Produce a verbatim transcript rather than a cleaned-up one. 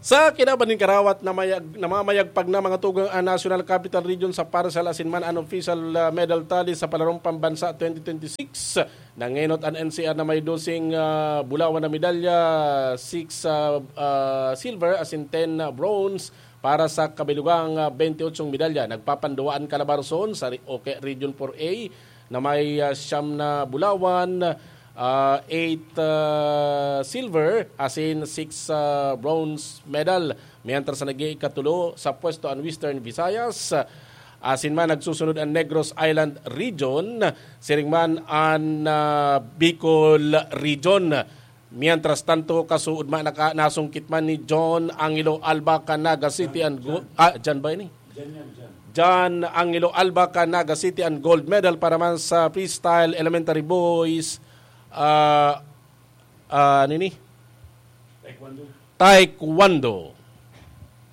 Sa kinaban nin karawat, namayag, namamayagpag na mga tugang ang National Capital Region sa parcel asin man an official, ah, medal tally sa Palarong Pambansa twenty twenty-six. Nangenot an N C R na may doseng, ah, bulawan na medalya, six, ah, ah, silver asin ten, ah, bronze para sa kabilugang, ah, twenty-eight medalya. Nagpapanduwa an Calabarzon sa re-, o kaya Region four A na may, ah, siyam na bulawan, ah, eight, ah, silver, asin six, ah, bronze medal. Mientras na nag-iikatulo sa pwesto an Western Visayas, asin man nagsusunod an Negros Island Region, siring man an, ah, Bicol Region. Mientras tanto, kasuod man naka-, nasungkit man ni John Angelo Alba kan Naga City an go-, ah, John ba ini? John Angelo Alba kan Naga City an gold medal para man sa freestyle elementary boys, ah, ah, nini? Taekwondo.